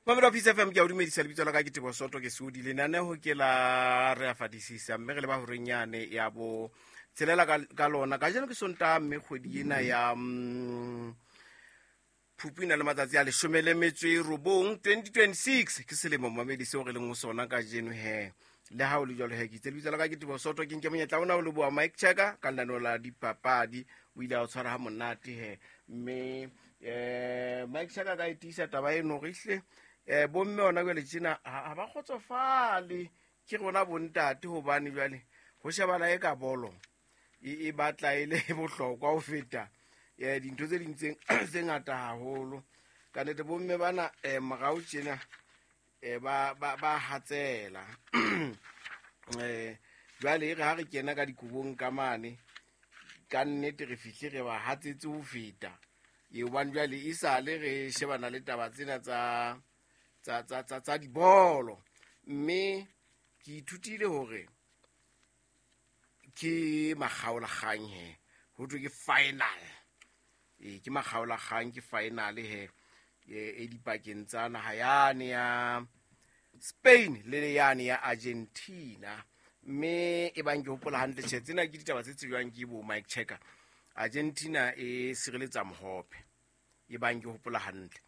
Mamelo Peace FM, ke a o dumedisa. Lebitso la ka ke Tebo Soto, ke Sodi. Lenaneo ke la Re a Fadisisa, mme re leba horeng yane ya bo tshelela ka lona. Kajeno ke Sontaha, mme kgwedi ena ya Phupu e na le matsatsi a 19, 2026 ke selemo, mamedi, seo re leng ho sona kajeno. He, le ha o le jwalo, he, ke itse lebitso la ka ke Tebo Soto. Ke nke monyetla ona o leboha Mike Checker ka lenaneo la dipapadi. O ile a o tshwara ha monate he, mme Mike Checker ka e tiisa taba eno re hle bomme ona jwale tjena ha ba kgotsofale ke rona bontate, hobane jwale ho shebana e ka bolo e batla e le bohlokwa ho feta dintho tse ding tse ngata haholo. Ka nnete bomme bana morao tjena ba hatsela. Jwale e re ha re kena ka dikobong ka mane, ka nnete re fihle re ba hatsetse ho feta e, hobane jwale e sale re shebana le taba tsena tsa dibolo. Mme ke ithutile hore ke makgaolakgang he, ho thwe ke final. Ee, ke makgaolakgang, ke final he e dipakeng tsa naha yane ya Spain le yane ya Argentina. Mme e bang ke hopola hantle, tjhe, tsena ke ditaba tse tsejwang ke bo Mike Checker, Argentina e sireletsa mohope, e bang ke hopola hantle,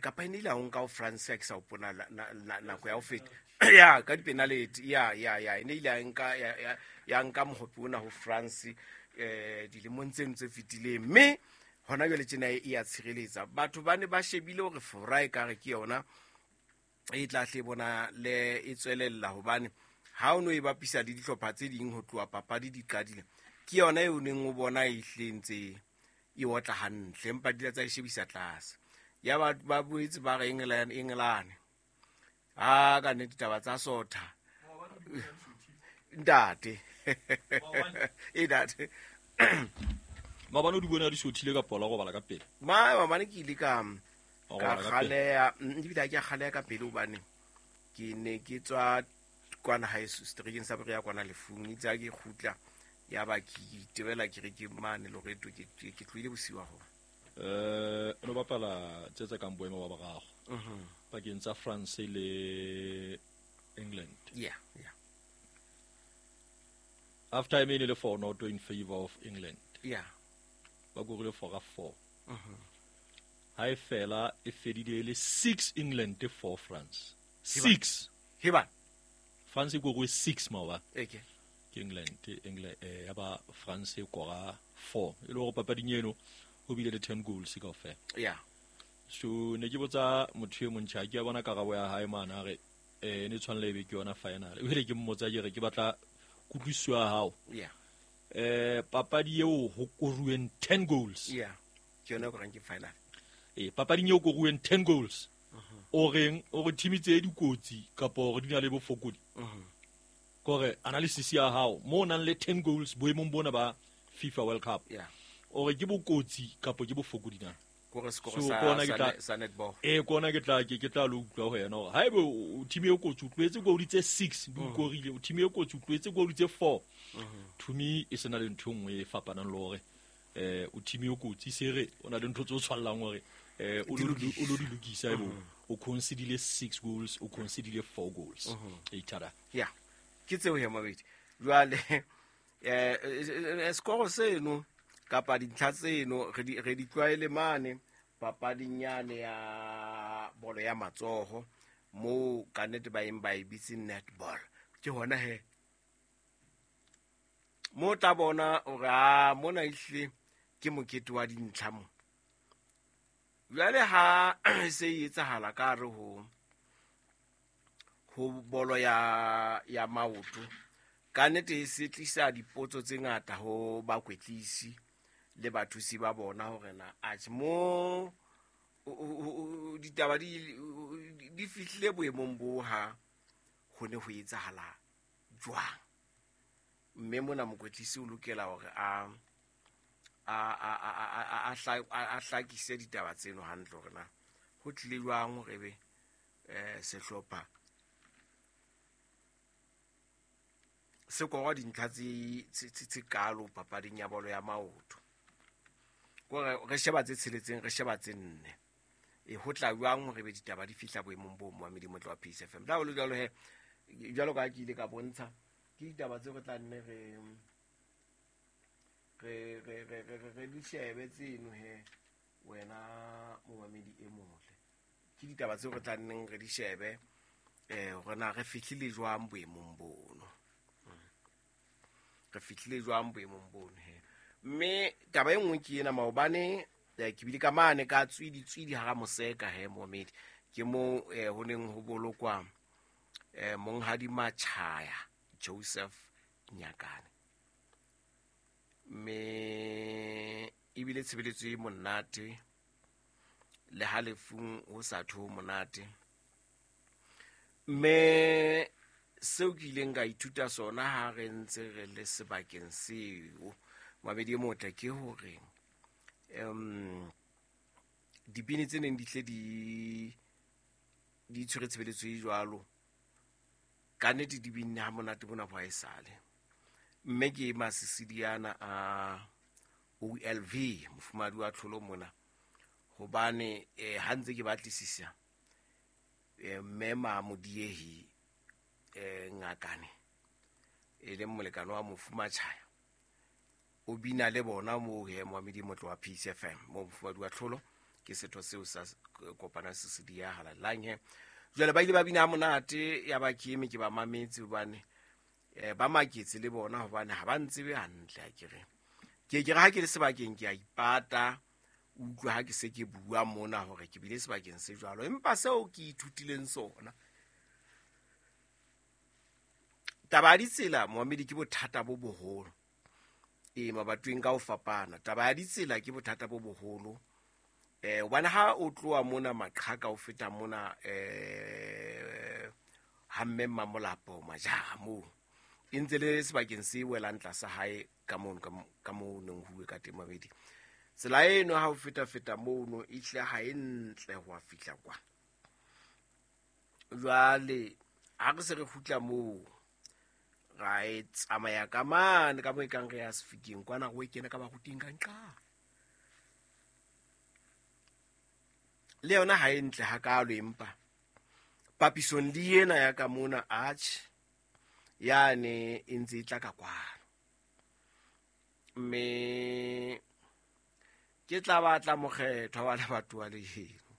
kapa e ne ile a o nka ho France, ha ke sa hopola nako ya ho feta ya ka dipenalty. Ya, e ne ile ya nka mohope ona ho France dilemong tseno tse fetileng, mme hona jwale tjena e ya tshireletsa. Batho ba ne ba shebile hore Fora e kare ke yona e tla hle bona le e tswelella, hobane ha o no e bapisa le dihlopha tse ding ho tloha papadi di qadile, ke yona e o neng o bona e hlentse e otla hantle, empa di tsa e shebisa tlase. Ya ba boetse ba re England, England ha ka nnete taba tsa sotha, ntate, e ntate. Maobane o di bone a di sothile ka pola go bala ka pele? Ma maobane ke ile ka Wa ka robala ka pele. Kgaleya, ebile ha ke a kgaleya ka pele, hobane ke ne ke tswa kwana haeso seterekeng sa Berea kwana lefung. Itse ha ke kgutla, ya ba ke itebela, ke re ke mane Loreto, ke tlohile bosiu haholo. No bapala tse kang boemo ba boraro pakeng tsa France le England. Half time e ne le 4-0 in favor of England. Ba korile fora 4. Ha e fela e fedile e le 6 England, 4 France. 6. Heba. France e koruwe 6 maoba. Eke. Ke England, England ya ba France e kora 4. E le hore papading eno ho bile le 10 goals kaofela. So ne ke botsa motho e montjha, ke a bona karabo ya hae mane, a re ne tshwanela ebe ke yona final. Ebile ke mmotsa ke re ke batla kutlwisiso ya hao. Papadi eo ho koruweng 10 goals. Yeah, ke yona e korang ke final. Papading eo koruweng 10 goals. O reng o re team tse dikotsi kapa hore di na le bofokodi? Kore analysis ya hao mo o nang le 10 goals boemong bona ba FIFA World Cup. O re ke bokotsi kapa ke bofokodi na? Kore sekoro So, sa kona ke tla- sa netball. Kona ke tla lo utlwa ho yena hore haebe o team e kotsi, o tlohetse goal tse 6 di o korile, o team e kotsi, o tlohetse goal tse 4, to me e sena le ntho e nngwe e fapanang le hore o team e kotsi, se re o na le ntho tse o tshwallang hore o lo di lokisa, ebe o concedile 6 goals, o concedile 4 goals e tada. Ya, ke tseo he, mabedi. Jwale sekoro seno kapa dintlha tseno re di tlwaele mane papading yane ya bolo ya matsoho, moo ka nnete ba eng ba e bitse netball. Ke hona he mo tla bona hore a mona ehlile ke mokete wa dintlha mo. Jwale ha se e etsahala ka hare ho bolo ya maoto, ka nnete e se tlisa dipotso tse ngata ho bakwetlisi le bathusi ba bona hore na atjhe mo ditaba di fihlile boemong bo ha ho ne ho etsahala jwang. Mme mona mokwetlisi o lokela hore a hlakise ditaba tseno hantle, hore na ho tlile jwang hore ebe sehlopha se kora dintlha tse kalo papading ya bolo ya maoto. Kore re sheba tse tsheletseng, re sheba tse nne. Ho tla jwang hore be ditaba di fihla boemong bo momamedi motle wa Peace FM. La ho le jwalo he, jwalo ka ke ile ka bontsha, ke ditaba tseo re tla nne re di shebe tseno he wena momamedi e motle. Ke ditaba tseo re tla nneng re di shebe hore na re fihlile jwang boemong bono. Re fihlile jwang boemong bono he. Mme taba e nngwe ke ena, maobane ke bile ka mane ka tswidi hara moseka he momamedi. Ke mo ho neng ho bolokwa monghadi Machaya Joseph Nyakane. Mme ebile tshebeletso e monate le ha lefung ho sa tho monate. Mme seo ke ileng ka ithuta sona ha re ntse re le sebakeng seo momamedi e motle ke hore dibini tse neng di tle di tshwere tshebeletso e jwalo ka nnete di binne ha monate bona bo haesale. Mme ke masisidiana a OLV mofumahadi wa tlholo mona, hobane ha ntse ke batlisisa mme Mamodiehi Ngakane e leng molekane wa mofumatjhaya o bina le bona moo he momamedi motle wa Peace FM mo mofumahadi wa tlholo ke setho seo sa kopana Sisidia halalelang he. Jwale ba ile ba bina ha monate ya ba ke eme ke ba mametse hobane ba maketse le bona hobane ha ba ntsebe hantle akere. Ke ke re ha ke le sebakeng ke a ipata, utlwa ha ke se ke bua mona hore ke bile sebakeng se jwalo, empa seo ke ithutileng sona taba ya ditsela momamedi ke bothata bo boholo. Mabatoweng ka ho fapana taba ya ditsela ke bothata bo boholo. Hobane ha o tloha mona Maqhaka o feta mona ha mme Mmamolapo Majara moo e ntse le sebakeng se welang tlasa hae ka mono ka moo neng ho bue ka teng mabedi. Tsela eno ha o feta mono e hle ha e ntle ho a fihla kwa. Jwale ha re se re kgutla moo ra e tsamaya ka mane ka moo e kang re ya Sefikeng kwana re o kena ka baruting ka nqa. Le yona ha e ntle hakalo, empa papisong le ena ya ka mona atjhe yane e ntse e tla ka kwano. Mme ke tla batla mokgethwa wa lebatowa le heno,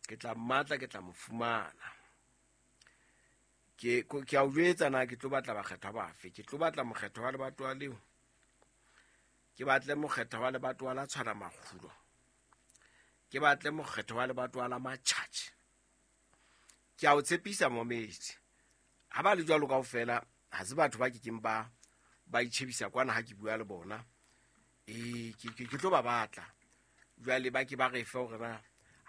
ke tla mmatla, ke tla mo fumana. Ke a o jwetsa na ke tlo batla bakgethwa bafe, ke tlo batla mokgethwa wa lebatowa leo, ke batle mokgethwa wa lebatowa la tshwana makgulo, ke batle mokgethwa wa lebatowa la Matjhatjhe. Ke a o tshepisa momedi, ha ba le jwalo kaofela ha se batho ba kekeng ba itjhebisa kwana ha ke bua le bona. Ke tlo ba batla jwale ba ke ba re fe hore na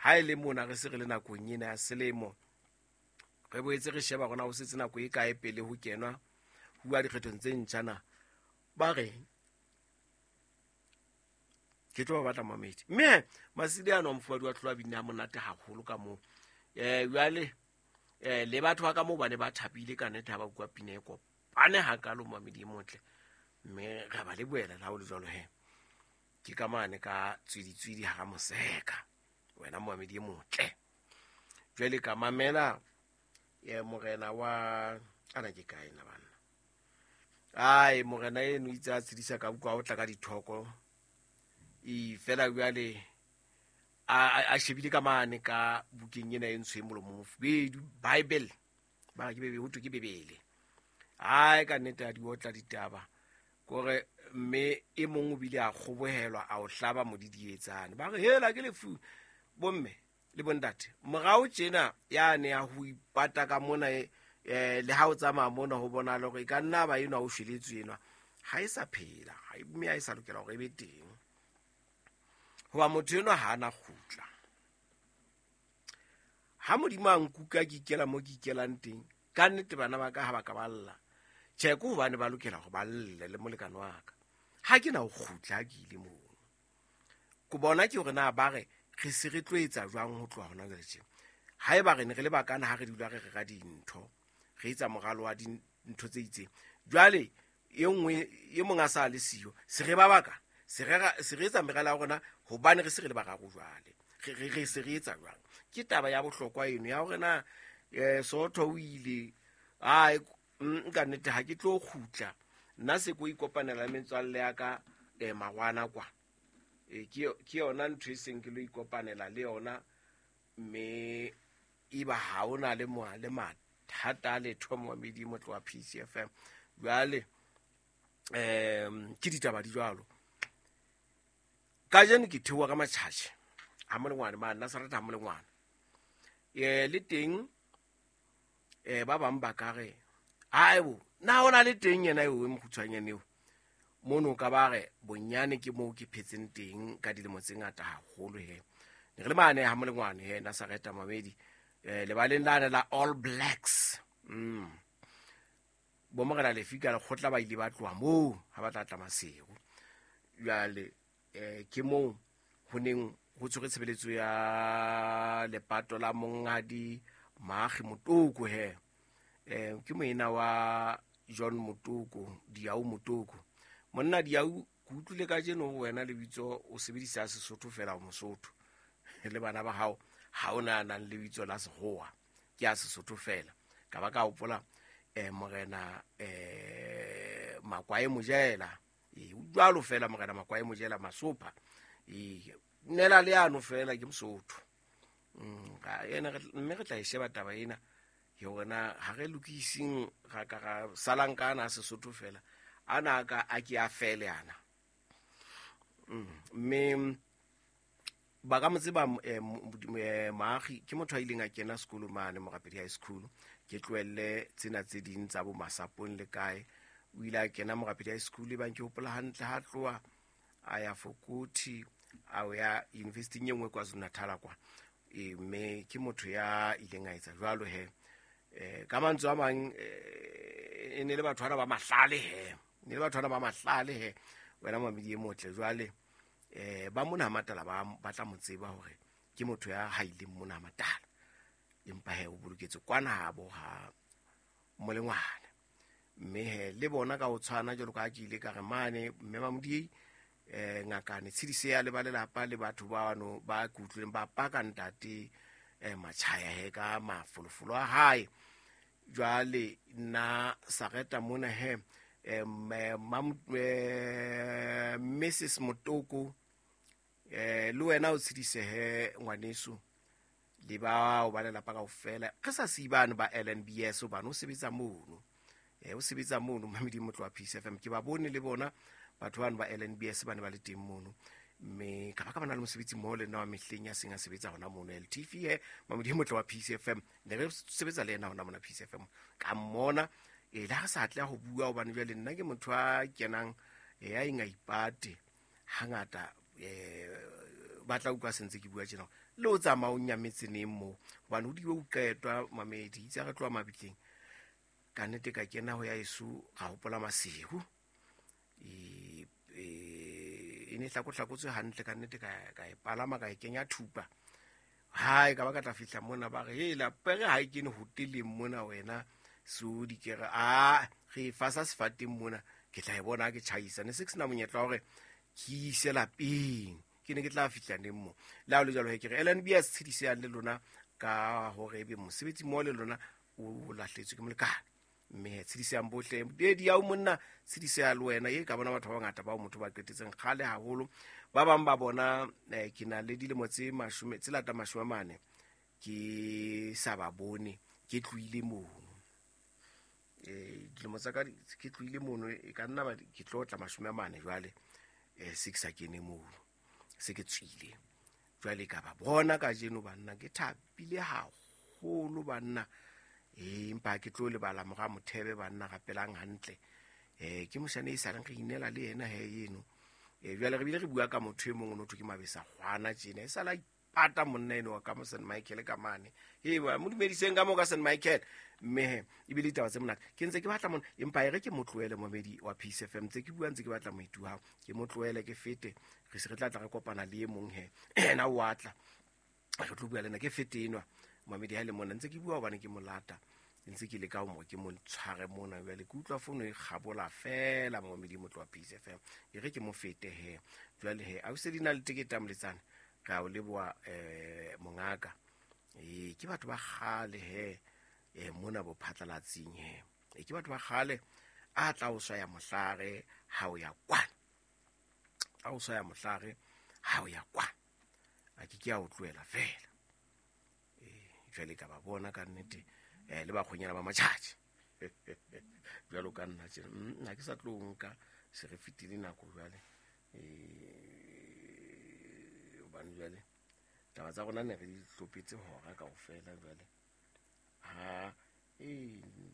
ha e le mona re se re le nakong ena ya selemo, re boetse re sheba rona ho setse nako e kae pele ho kenwa ho dikgethong tse ntjha na ba re ke tlo ba batla mamedi. Mme Masidi ano mofumahadi wa tlholo a binne ha monate haholo ka moo. Jwale le batho ba ka moo ba ne ba thabile ka nnete ha ba utlwa pina e kopane hakalo momamedi e motle. Mme re ba lebohela le ha ho le jwalo he. Ke ka mane ka tswidi hara moseka wena momamedi e motle. Jwale ka mamela morena wa ana ke kae na banna. Ai morena eno itse a tshedisa ka utlwa o tla ka dithoko. E fela jwale a shebile ka mane ka bukeng ena e ntsho e molomo mofubedu Bible ba ke bebe ho thwe ke Bebele. Ai ka nnete a di otla ditaba kore mme e mong o bile a kgobohelwa a o hlaba modidietsane ba re hela ke lefu bomme le bontate morao tjena ya ne ya ho ipata ka mona le ha o tsamaya mona ho bona le hore e ka nna ba enwa o shweletswe enwa ha e sa phela mme ha e sa lokela hore e be teng hoba motho enwa ha ana kgutla. Ha Modimo a nkuka ke ikela mo ke ikelang teng ka nnete bana ba ka ha ba ka ba lla tjhe ke hobane ba lokela hore ba lle le molekane wa ka. Ha ke na ho kgutla ha ke ile moo ko bona ke hore na ba re re se re tlo etsa jwang ho tloha hona jwale tje. Haeba re ne re le bakana ha re dula re rera dintho re etsa moralo wa dintho tse itseng jwale e nngwe e mong a sa le siyo se re ba baka se re etsa meralo ya rona hobane re se re le bararo jwale Re se re etsa jwang? Ke taba ya bohlokwa eno ya hore na Sootho o ile ai nka nnete ha ke tlo kgutla nna se ko ikopanela le metswalle ya ka magwana kwa. Ke yona ntho e seng ke lo ikopanela le yona, mme eba ha ona le le mathata a letho momamedi motlo wa Peace FM. Jwale ke ditaba di jwalo. Kajeno ke theoha ka matjhatjhe ha molengwane mane Nazareth ha molengwane. Le teng ba bang ba ka re aibo na ona le teng yena eo e mokgutshwanyane eo mono ka ba re bonyane ke moo ke phetseng teng ka dilemo tse ngata haholo he. Ne re le mane ha molengwane he Nazareth mamedi lebaleng lane la All Blacks. Bo morena Lefika lekgotla ba ile ba tloha moo ha ba tla tla Maseru. Jwale ke moo ho neng ho tshwere tshebeletso ya lepato la monghadi Maagi Motoko he. Ke moena wa John Motoko, Diau Motoko. Monna Diau, ke utlwile kajeno ho wena lebitso o sebedisa Sesotho fela o Mosotho. Le bana ba hao ha ona nang lebitso la Sekgowa, ke a Sesotho fela. Ka ba ka hopola morena Makwae Mojela. Jwalo fela morena Makwae Mojela Masopha. Nela le ano fela ke Mosotho. Ena mme re tla e sheba taba ena yona ha re lokising ra ka ra salang ka ana Sesotho fela ana ka a ke a fele ana. Mme ba ka mo tseba Maagi ke motho a ileng a kena sekolo mane Morapedi High School. Ke tlohelle tsena tse ding tsa bo masapong le kae. O ile a kena Morapedi High School, e bang ke hopola hantle ha tloha a ya Fokothi a ya university e nngwe KwaZulu-Natal kwa. Mme ke motho ya ileng a etsa jwalo he. Ka mantswe a mang e ne le batho bana ba mahlale he. Ne le batho bana ba mahlale he. Wena mamedi e motle jwale ba mona Matala ba tla mo tseba hore ke motho ya haileng mona Matala. Empa he o boloketse kwana habo ha molengwana. Mme he le bona ka ho tshwana jwalo ka ke ile ka re mane mme Mamodiei ngakane tshedise ya le ba lelapa le batho ba bano ba kutlwileng ba paka ntate Machaya he ka mafolofolo a hae. Jwale nna Sareta mona he Mrs Motoko le wena o tshedise he ngwaneso le ba o ba lelapa kaofela. Re sa sibane ba LNBS hobane o sebetsa mono. O sebetsa mono mamedi motlo wa Peace FM. Ke ba bone le bona batho bano ba LNBS ba ne ba le teng mono. Mme ka ba ka bana le mosebetsi mmoho le nna wa mehleng ya seng a sebetsa hona mono LTV he mamedi motlo wa Peace FM. Ne re sebetsa le yena hona mona Peace FM. Ka mmona le ha re sa tla ho bua hobane jwale nna ke motho a kenang ya eng a ipate hangata ba tla utlwa sentse ke bua tjena le o tsamaya o nyametse neng moo hobane ho diwe o qetwa mamedi itse re tloha mabitleng ka nnete ka kena ho ya eso ra hopola Maseru e ne hlakohlakotswe hantle ka nnete ka e palama ka e kenya thupa hae ka ba ka tla fihla mona ba re hela pere ha e kene hoteleng mona wena so di ke re a re fasa sefateng mona ke tla e bona ke tjhaisa ne se ke sena monyetla wa hore ke ise lapeng ke ne ke tla fihla neng mo le ha o le jwalo he ke re LNBS tshediseyang le lona ka hore ebe mosebetsi mmoho le lona o lahletswe ke molekane mme tshediseyang bohle di ya o monna tshediseya le wena e ka bona batho ba bangata bao motho ba qetetseng kgale haholo ba bang ba bona ke na le dilemo tse mashome tse lata 40 ke sa ba bone ke tlohile mono dilemo tsa ka ke tlohile mono e ka nna ba ke tlo tla 40 jwale se ke sa kene mono se ke tswile jwale ka ba bona kajeno banna ke thapile haholo banna empa ke tlo lebala mora Mothebe banna rapelang hantle ke moshane e sa reng re inela le yena he eno jwale re bile re bua ka motho e mong o notho ke Mabesa kgwana tjena e sala pata monna eno wa ka mo St Michael ka mane ba mo dumediseng ka mo ka St Michael mme e bile ditaba tse monate ke ntse ke batla mona empa e re ke motlohele momedi wa Peace FM ntse ke bua ntse ke batla moetu hao ke motlohele ke fete re se re tla tla re kopana le e mong he ena o atla re tlo bua le nna ke fete enwa mamedi ha le mona ntse ke bua hobane ke molata ntse ke leka hore ke mo tshware mona jwale ke utlwa fono e kgabola fela momedi motlo wa Peace FM e re ke mo fete he jwale he a o se di na le tekete ya moletsane Re a o leboha mongaka. Ke batho ba kgale he mona bo phatlalatsing he. Ke batho ba kgale a tla o swaya mohlare ha o ya kwana. A o swaya mohlare ha o ya kwana. A ke ke a o tlohela fela. Jwale ka ba bona ka nnete le bakgonyana ba matjhatjhe. Jwalo ka nna tjena. Nna ke sa tlo nka se re fetile nako jwale. Hobane jwale taba tsa rona ne re di hlopetse hora kaofela jwale. Ha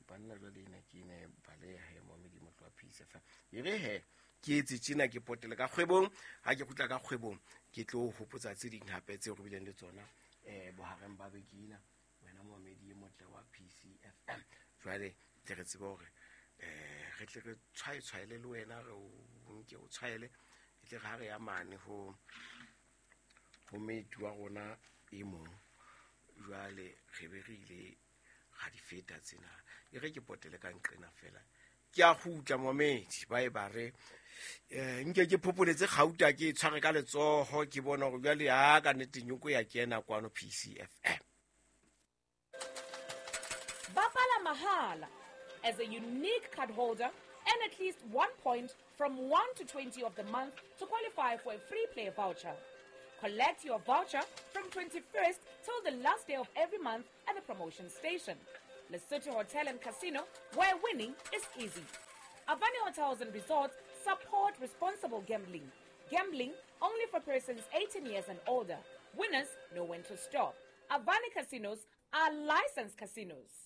banna jwale ena ke ena baleha he momedi motho wa Peace FM. E re he ke etse tjena ke potele ka kgwebong, ha ke kgutla ka kgwebong ke tlo hopotsa tse ding hape tseo re bileng le tsona bohareng ba beke ena wena momedi e motle wa Peace FM. Jwale tle re tsebe hore re tle re tshwaetshwaele le wena re o nke o tshwaele e tle re ha re ya mane ho moeti wa rona e mong jwale re be re ile ga di feta tsena. E re ke potele ka nqena fela ke a kgutla momedi ba e ba re nke ke phopoletse kgauta ke tshware ka letsoho ke bona hore jwale ha ka nnete nyoko ya kena kwano PCFM. Bapala mahala as a unique card holder and at least 1 point from 1 to 20 of the month to qualify for a free play voucher. Collect your voucher from 21st till the last day of every month at the promotion station. Lesotho Hotel and Casino, where winning is easy. Avani Hotels and Resorts support responsible gambling. Gambling only for persons 18 years and older. Winners know when to stop. Avani Casinos are licensed casinos.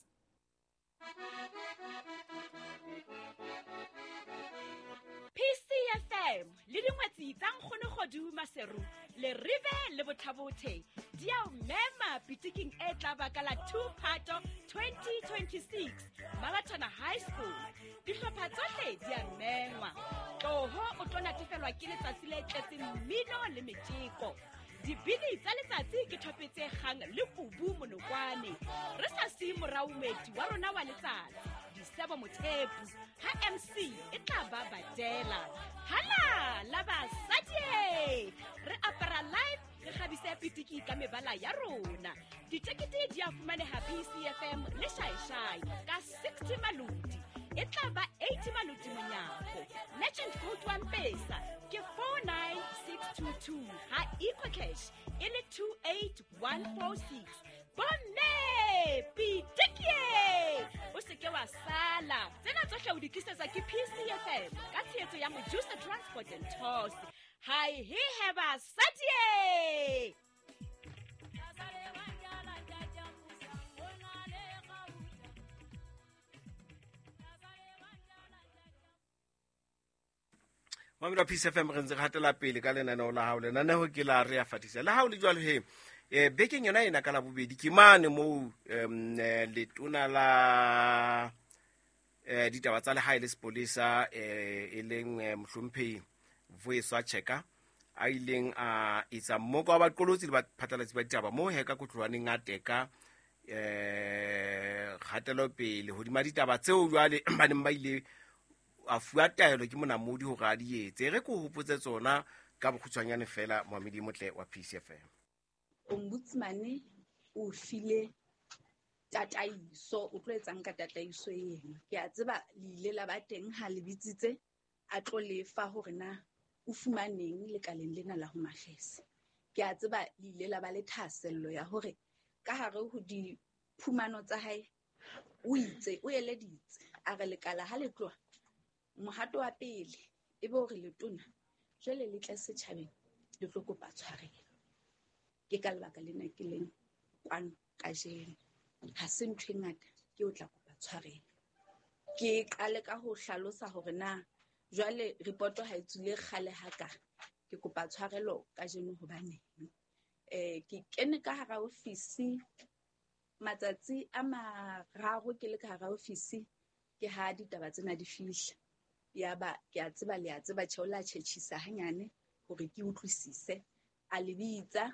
PCFM le dingwetsi tsa nkgono Kgodu Maseru le ribe le bothabothe di a o mema pitiking e tla baka la 2 Phato 2026 Maratona High School. Dihlopha tsohle di a mengwa. Tloho o tlo natefelwa ke letsatsi le tletseng mmino le metjeko. Dibini tsa letsatsi ke thopetse kgang le kubu monokwane. Re sa siye morao moeti wa rona wa letsatsi Disebo Mothepu ha MC e tla ba badela. Hala la basadi re apara live re kgabise pitiki ka mebala ya rona. Ditekete di a fumaneha PCFM le Shaishai ka 60 maloti. E tla ba 80 maloti monyako. Legend code wa Mpesa ke 49622 ha EcoCash e le 28146. Bomme pitiki o se ke wa sala. Tsena tsohle o di tlisetswa ke PCFM ka tshehetso ya Mojusa Transport and Tours. Hi he heba sadie. Mamela Peace FM re ntse re hatela pele ka lenaneo la hao. Lenaneo ke la re a fatisa. Le ha o le jwalo he bekeng yona ena ka la bobedi ke mane moo letona la ditaba tsa lehae le sepolesa e leng mohlomphehi Vuyiswa Cheka a ileng a etsa mmoko wa baqolotsi le baphatlalatsi ba ditaba moo he ka kotlwaneng a teka kgatelopele hodima ditaba tseo jwale ba neng ba ile a fuwa taelo ke monamodi hore a di etse. Re ko hopotse tsona ka bokgutshwanyane fela Mohamedi Motle wa PCFM. Ombudsman o file tataiso, o tlo etsang ka tataiso ena. Ke a tseba le ile la ba teng ha le bitsitse a tlo lefa hore na o fumaneng lekaleng lena la Home Affairs. Ke a tseba le ile la ba le thahasello ya hore ka hare ho diphumano tsa hae o itse o eleditse a re lekala ha le tloha mohato wa pele e be hore letona jwale le tle setjhabeng le tlo kopa tshwarelo. Ke ka lebaka lena ke leng kwano kajeno. Ha se ntho e ngata ke o tla kopa tshwarelo. Ke qale ka ho hlalosa hore na jwale reporto ha e tswile kgale haka. Ke kopa tshwarelo kajeno hobaneng. Ke kene ka hara ofisi matsatsi a mararo ke le ka hara ofisi ke ha ditaba tsena di fihla. Ya ba ke a tseba le a tseba tjhe o la tjhetjhisa hanyane hore ke utlwisise. A le bitsa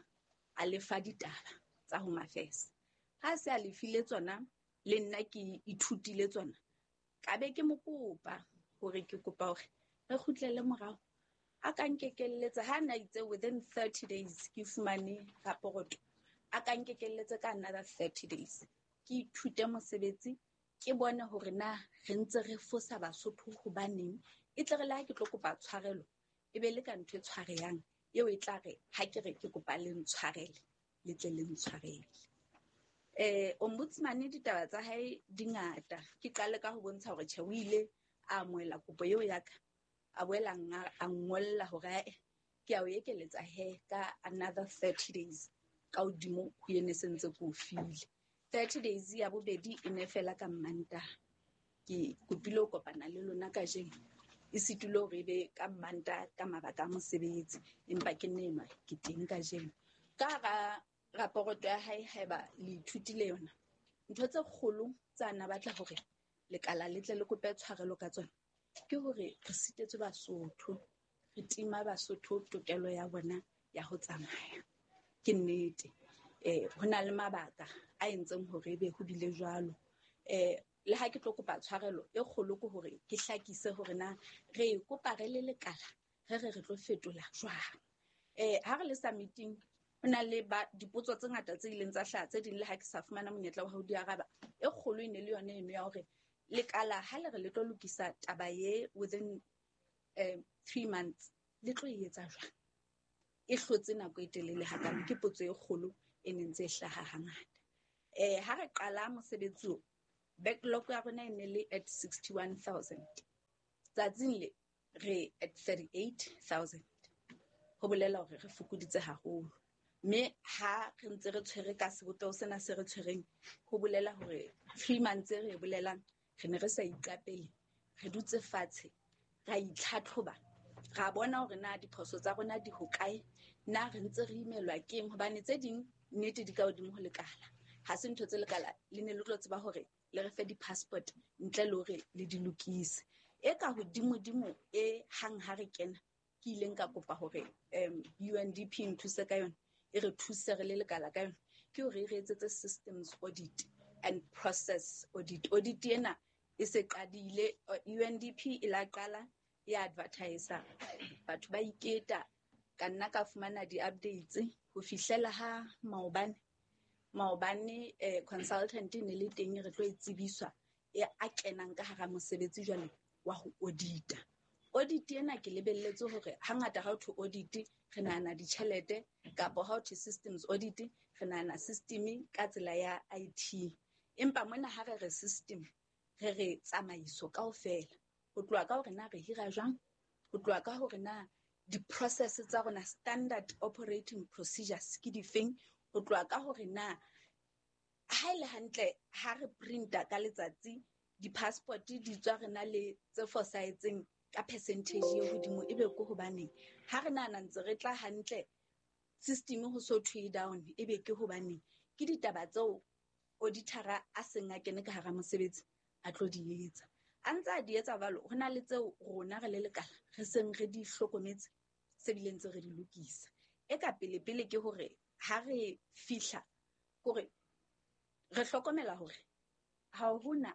a lefa ditaba tsa Home Affairs. Ha se a lefile tsona le nna ke ithutile tsona ka be ke mo kopa hore ke kopa hore re kgutlele morao A ka nkekelletsa ha na itse within 30 days ke fumane raporoto, a ka nkekelletsa ka another 30 days. Ke ithute mosebetsi, ke bone hore na re ntse re fosa Basotho hobaneng. E tle re le ha ke tlo kopa tshwarelo, e be le ka ntho e tshwarehang eo e tla re ha ke re ke kopa le ntshwarele, le tle le ntshwarele. Ombudsman ditaba tsa hae di ngata. Ke qale ka ho bontsha hore tjhe o ile a amohela kopo eo ya ka, a boela a ngolla hore ae, ke a o ekeletsa he ka another 30 days ka hodimo ho ene se ntse ke o file. 30 days ya bobedi e ne fela ka Mmantaha. Ke kopile ho kopana le lona kajeno, e sitile hore e be ka Mmantaha ka mabaka a mosebetsi, empa ke nne enwa ke teng kajeno. Ka hara raporoto ya hae, haeba le ithutile yona, ntho tse kgolo tsa na batla hore lekala le tle le kope tshwarelo ka tsona, ke hore re sitetswe Basotho, re tima Basotho tokelo ya bona ya ho tsamaya. Ke nnete. Ho na le mabaka a entseng hore ebe ho bile jwalo. Le ha ke tlo kopa tshwarelo e kgolo ke hore ke hlakise hore na re e kopa re le lekala, re re re tlo fetola jwang. Ha re le sa meeting, ho na le dipotso tse ngata tse ileng tsa hlaha, tse ding le ha ke sa fumana monyetla wa ho di araba. E kgolo e ne le yona eno ya hore lekala ha le re le tlo lokisa taba ye within 3 months, le tlo e etsa jwang? E hlotse nako e telele hakana, ke potso e kgolo e neng ntse e hlaha hangata. Ha re qala mosebetsi o, backlog ya rona e ne le at 61,000. Tsatsing le re at 38,000. Ho bolela hore re fokoditse haholo. Mme ha re ntse re tshwere ka sebopeho sena se re tshwereng, ho bolela hore 3 months e re e bolelang, re ne re sa iqapele, re dutse fatshe, ra itlhatlhoba, ra bona hore na diphoso tsa rona di hokae, na re ntse re imelwa keng, hobane tse ding nnete di ka hodimo ho lekala. Ha se ntho tse lekala le ne le tlo tseba hore le re fe di-passport ntle le hore le di lokise. E ka hodimodimo e hang ha re kena, ke ileng ka kopa hore UNDP nthuse ka yona, e re thuse re le lekala ka yona, ke hore e re etsetse systems audit and process audit. Audit ena e se qadile, UNDP e la qala ya advertisa, batho ba iketa, ka nna ka fumana di-updates ho fihlela ha maobane. Maobane consultant e ne le teng, re tlo e tsebiswa e a kenang ka hara mosebetsi jwale wa ho audita. Audit ena ke lebelletse hore hangata ha ho thwe audit re nahana ditjhelete, kapa ha ho thwe systems audit re nahana system ka tsela ya IT. Empa mona ha re re system, re re tsamaiso kaofela. Ho tloha ka hore na re hira jwang, ho tloha ka hore na di-process tsa rona, standard operating procedures ke difeng, ho tloha ka hore na ha e le hantle ha re printa ka letsatsi di-passport di tswa re na le tse fosahetseng ka percentage e hodimo, ebe ke hobaneng? Ha re nahana ntse re tla hantle, system ho so thwe down, ebe ke hobaneng? Ke ditaba tseo auditor-a a seng a kene ka hara mosebetsi a tlo di etsa. A ntse a di etsa jwalo, ho na le tseo rona re le lekala re seng re di hlokometse, se bile ntse re di lokisa. E ka pele-pele ke hore ha re fihla, kore re hlokomela hore ha hona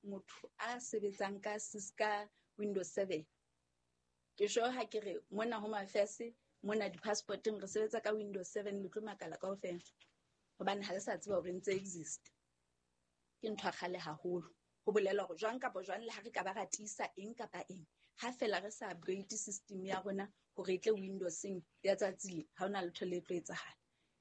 motho a sebetsang ka ka Windows 7. Ke sure ha ke re mona Home Affairs, mona di-passporteng re sebetsa ka Windows 7, le tlo makala kaofela, hobane ha le sa tseba hore ntse exist. Ke ntho ya kgale haholo. Ho bolela hore jwang kapa jwang le ha re ka ba ra tiisa eng kapa eng, ha fela re sa upgrade system ya rona hore e tle Windowseng ya tsatsi le, ha hona letho le tlo etsahala.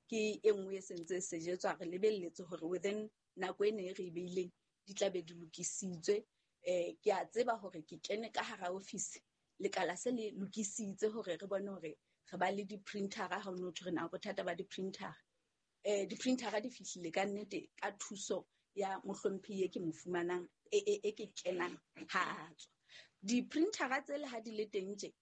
Ke e nngwe e sentse e sejetswa, re lebelletse hore within nako ena e re e beileng di tla be di lokisitswe. Ke a tseba hore ke kene ka hara office, lekala se le lokisitse hore re bone hore re ba le di-printera, ha ho no thwe re na bothata ba di-printera. Di-printera di fihlile ka nnete ka thuso ya mohlomphehi e ke mo fumanang, e ke kenang ha a tswa. Di-printera tsele ha di le teng tje,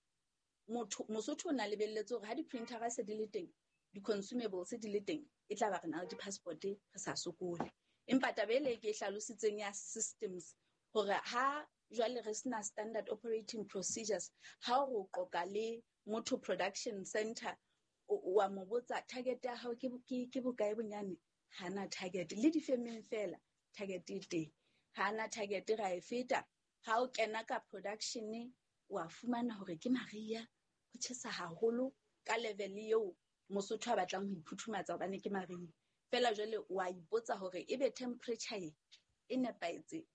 Mosotho o na lebelletse hore ha di-printera se di le teng, di-consumables di le teng, e tla ba re na le di-passport re sa sokole. Empa taba ele ke e hlalositseng ya systems, hore ha jwale re sena standard operating procedures, ha o re o qoqa le motho production center, wa mo botsa target ya hao ke bokae bonyane, ha na target. Le difemeng fela target e teng, ha na target ra e feta. Ha o kena ka production, wa fumana hore ke Maria, Ho tjhesa haholo ka level eo Mosotho a batlang ho iphuthumatsa hobane ke mariha. Feela jwale wa ipotsa hore ebe temperature e nepahetse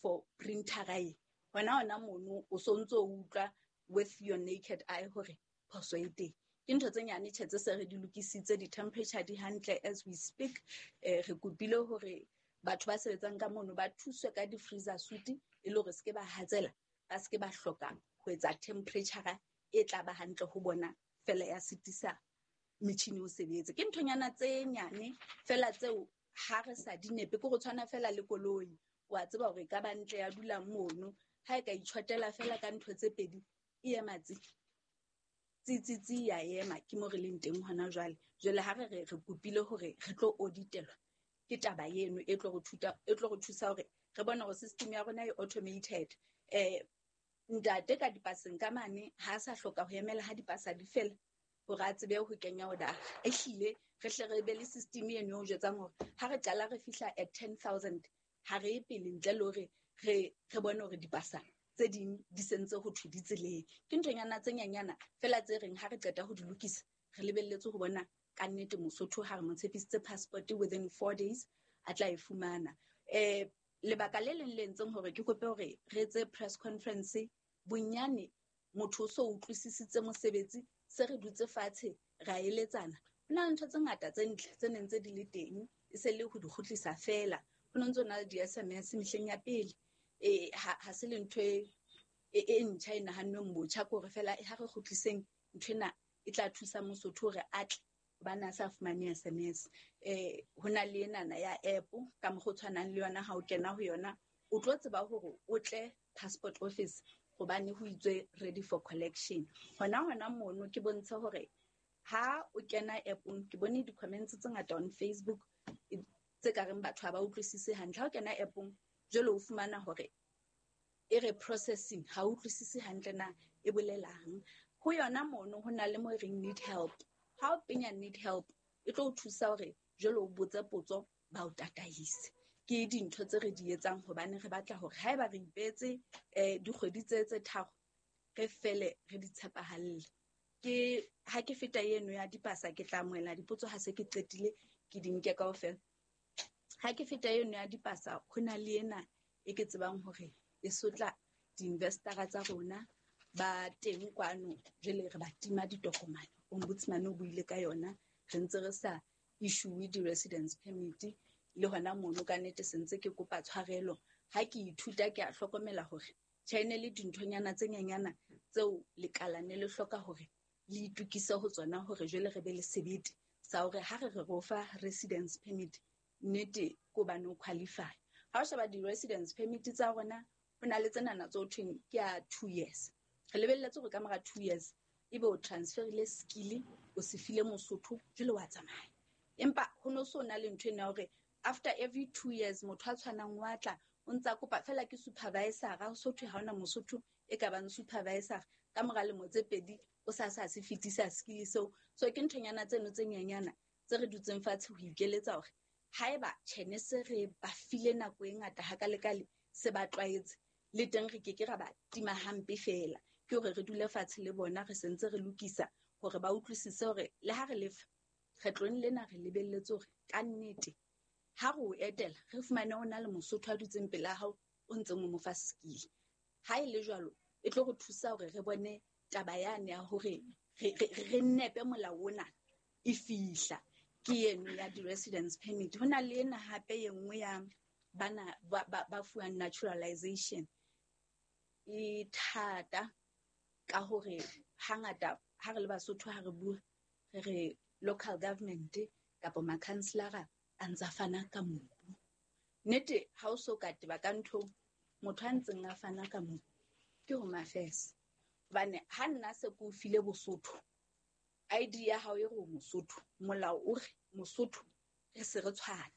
for printera e. Hona mono o so ntso utlwa with your naked eye hore phoso e teng. Ke ntho tse nyane tjhe tse se re di lokisitse, di-temperature di hantle as we speak. Re kopile hore batho ba sebetsang ka mono ba thuswe ka di-freezer suit e le hore se ke ba hatsela, ba se ke ba hloka ho etsa temperature e tla ba hantle ho bona fela ya sitisa metjhini o sebetse. Ke nthonyana tse nyane fela tseo ha re sa di nepe, ke go tshwana fela le koloi. Wa tseba hore e ka ba ntle ya dula mono, ha e ka itjhotela fela ka ntho tse pedi e ema tsi. Tsi, tsi, tsi ya ema, ke mo re leng teng hona jwale. Jwale ha re kopile hore re tlo auditelwa, ke taba eno e tlo re thuta, e tlo re thusa hore re bone hore system ya rona e automated. Ntate ka dipaseng ka mane ha a sa hloka ho emela ha dipasa di fela hore a tsebe ho kenya order. Ehlile re hle re be le system eno e o jwetsang hore ha re qala re fihla at 10,000 ha re ye pele ntle le hore re bone hore dipasa tse ding di sentse ho thwe di tseleng. Ke nthonyana tse nyanyana fela tse reng ha re qeta ho di lokisa re lebelletse ho bona ka nnete Mosotho ha re mo tshepisitse passport within 4 days a tla e fumana. Lebaka le leng le entseng hore ke kope hore re etse press conference, bonyane motho o so utlwisisitse mosebetsi, se re dutse fatshe ra eletsana. Ho na le ntho tse ngata tse ntle tse neng tse di le teng, e se le ho di kgutlisa fela. Ho no ntso na le di-SMS mehleng ya pele. Ha se le ntho e ntjha e nahannweng botjha, ke hore fela ha re kgutliseng ntho ena e tla thusa Mosotho hore a tle hobane a sa fumane SMS. Ho na le enana ya app ka mokgwa o tshwanang le yona, ha o kena ho yona o tlo tseba hore o tle passport office hobane ho itswe ready for collection. Hona mono ke bontshe hore ha o kena app-ong, ke bone di-comments tse ngata on Facebook tse ka reng batho ha ba utlwisise hantle. Ha o kena app-ong jwale o fumana hore e re processing, ha o utlwisise hantle na e bolelang. Ho yona mono ho na le mo e reng need help. Ha o penya need help e tlo o thusa hore jwale o botse potso ba o tataise. Ke dintho tse re di etsang hobane re batla hore haeba re ipetse dikgwedi tse tharo re fele re di tshepahalle. Ke ha ke feta eno ya dipasa ke tla amohela dipotso ha se ke qetile ke di nke kaofela. Ha ke feta eno ya dipasa ho na le ena e ke tsebang hore e sotla di-investor-a tsa rona ba teng kwano, jwale re ba tima ditokomane. Ombudsman o buile ka yona, re ntse re sa issue di-residence permit le hona mono ka nnete se ntse ke kopa tshwarelo. Ha ke ithuta ke a hlokomela hore tjhe ne le dinthonyana tse nyenyana tseo lekala ne le hloka hore le itokise ho tsona hore jwale re be le sebete sa hore ha re re ro fa residence permit nnete ke hobane o qualify. Ha o sheba di-residence permit tsa rona ho na le tsenana tse ho thweng ke ya 2 years. Re lebelletse hore ka mora 2 years ebe o transferile skill o se file Mosotho jwale wa tsamaya. Empa ho no so na le ntho ena hore after every 2 years motho a tshwanang wa tla o ntsa kopa fela ke supervisor, ha so thwe ha hona Mosotho e ka bang supervisor ka mora lemo tse pedi o sa sa se fetisa skill seo. So ke nthonyana tseno tse nyenyana tse re dutseng fatshe ho ikeletsa hore haeba tjhene se re ba file nako e ngata hakalekale se ba tlwaetse le teng re ke ke ra ba tima hampe fela. Ke hore re dule fatshe le bona re sentse re lokisa hore ba utlwisise hore le ha re lefa kgetlong lena re lebelletse hore ka nnete ha re o etela re fumane o na le Mosotho a dutseng pela hao o ntseng o mo fa skill. Ha e le jwalo e tlo re thusa hore re bone taba yane ya hore re nepe molao ona e fihla. Ke eno ya di-residence permit. Ho na le ena hape e nngwe ya bana ba fuwang naturalization e thata ka hore hangata ha re le Basotho ha re bua re re local government kapa ma-councillor a ntsa fana ka mobu. Nnete ha o so ka teba ka ntho motho a ntseng a fana ka mobu ke Home Affairs. Hobane ha nna se ke o file Bosotho, ID ya hao e re o Mosotho, molao o re Mosotho re se re tshwana.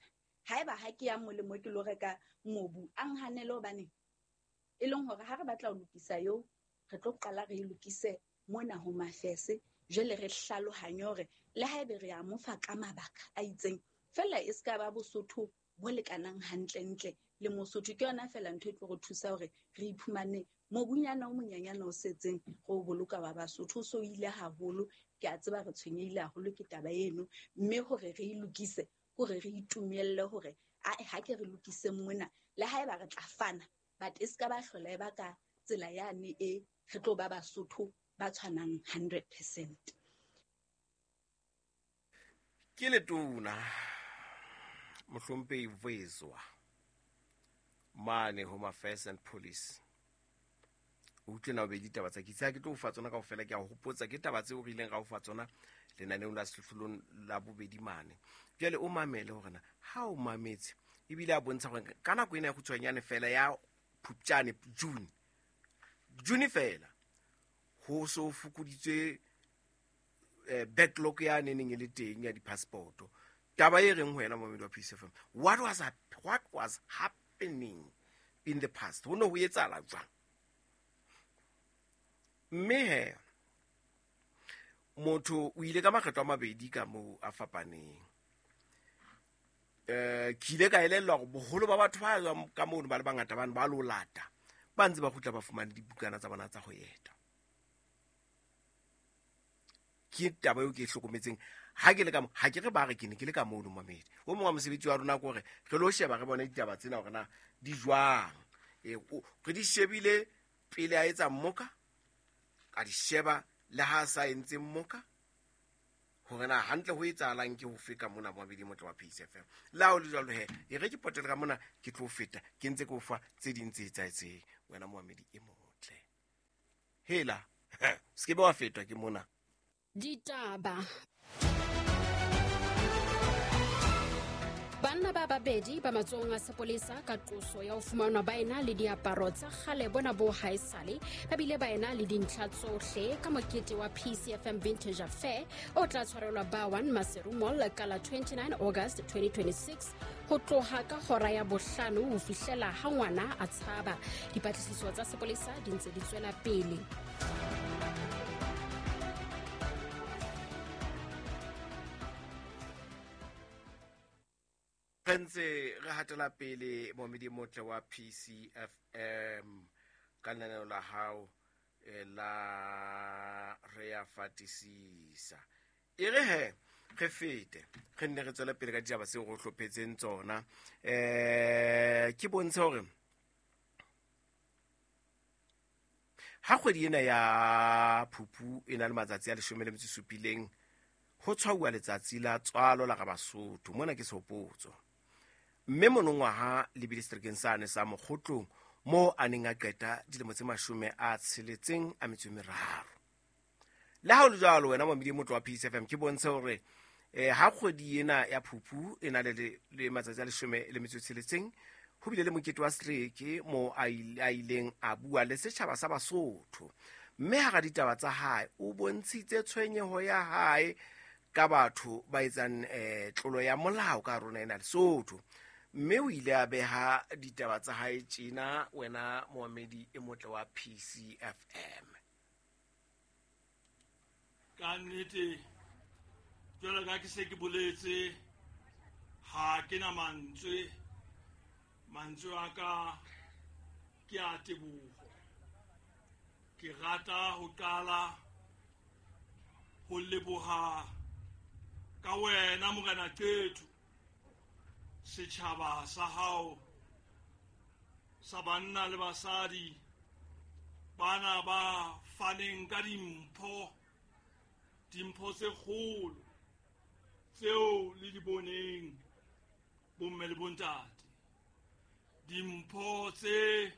Haeba ha ke ya molemo ke lo reka mobu, a nhanele hobane e leng hore ha re batla ho lokisa eo, re tlo qala re e lokise mona Home Affairs, jwale re hlalohanye hore le haebe re a mo fa ka mabaka a itseng, fela e ska ba Bosotho bo lekanang hantlentle le Mosotho. Ke yona fela ntho e tlo re thusa hore re iphumane mobunyana o monyanyana o setseng go boloka wa Basotho. O so ile haholo, ke a tseba re tshwenyehile haholo ke taba eno, mme hore re e lokise, hore re itumelle hore ae ha ke re lokise mona, le haeba re tla fana, but e ska ba hlola e ba ka tsela yane e re tlo ba Basotho ba tshwanang 100%. Ke letona Mohlomphehi Vezwa mane Home Affairs and Police. O utlwe na o be ditaba tsa kitse, ha ke tlo o fa tsona kaofela, ke a o hopotsa ke taba tseo re ileng ra o fa tsona lenaneong la sehlohlolong la bobedi mane. Jwale o mamele hore na ha o mametse, ebile a bontsha hore ka nako ena ya kgutshwanyane fela ya Phupjane, June fela, ho so fokoditswe backlog ya neneng e le teng ya di-passport. Taba e reng ho wena momedi wa PCFM, what was happening in the past? Ho ne ho etsahala jwang? Mme he motho o ile ka makgetlo a mabedi ka moo a fapaneng. Ke ile ka elellwa hore boholo ba batho ba tswang ka mono ba le bangata bane ba lo lata, ba ntse ba kgutla ba fumane dibukana tsa bona tsa ho eta. Ke taba eo ke e hlokometseng ha ke le ka mo, ha ke re ba re ke ne ke le ka mono mamedi. O mongwe wa mosebetsi wa rona ke hore re lo sheba re bone ditaba tsena hore na di jwang. Re di shebile pele a etsa mmoka, a di sheba le ha a sa entse mmoka, hore na hantle ho etsahalang ke ho feka mona momedi motle wa PCFM. Le ha ho le jwalo he, e re ke potele ka mona ke tlo feta, ke ntse ke o fa tse ding tse etsahetseng wena momedi e motle. Hela, se ke be wa fetwa ke mona. Ditaba. Banna ba babedi ba matsohong a sepolesa ka qoso ya ho fumanwa ba ena le diaparo tsa kgale bona bo haesale, ba bile ba ena le dintlha tsohle ka mokete wa PCFM Vintage Affair o tla tshwarelwa ba 1 Maseru Mall ka la 29 August 2026 ho tloha ka hora ya bohlano ho fihlela ha ngwana a tshaba. Dipatlisiso tsa sepolesa di ntse di tswela pele. Re ntse re hatela pele momedi motle wa PCFM ka lenaneo la hao la re ya fatisisa. E re he re fete re nne re tswele pele ka ditaba tseo re hlophetseng tsona. Ke bontshe hore ha kgwedi ena ya Phupu e na le matsatsi a 17 ho tshwauwa letsatsi la tswalo la Rabasotho. Mona ke sehopotso. Mme monongwaha lebile seterekeng sane sa Mokgotlong moo a neng a qeta dilemo tse 63. Le ha ho le jwalo wena momedi motle wa PCFM, ke bontshe hore ha kgwedi ena ya Phupu e na le matsatsi a 16, ho bile le mokete wa setereke moo a ileng a bua le setjhaba sa Basotho. Mme hara ditaba tsa hae o bontshitse tshwenyeho ya hae ka batho ba etsang tlolo ya molao ka rona ena Lesotho. Mme o ile a beha ditaba tsa hae tjena wena moamedi e motle wa PCFM. Ka nnete jwalo ka ke se ke boletse, ha ke na mantswe a ka ke a teboho. Ke rata ho qala ho leboha ka wena Morena Qetho, setjhaba sa hao sa banna le basadi bana ba faneng ka dimpho tse kgolo tseo le di boneng bomme le bontate, dimpho tse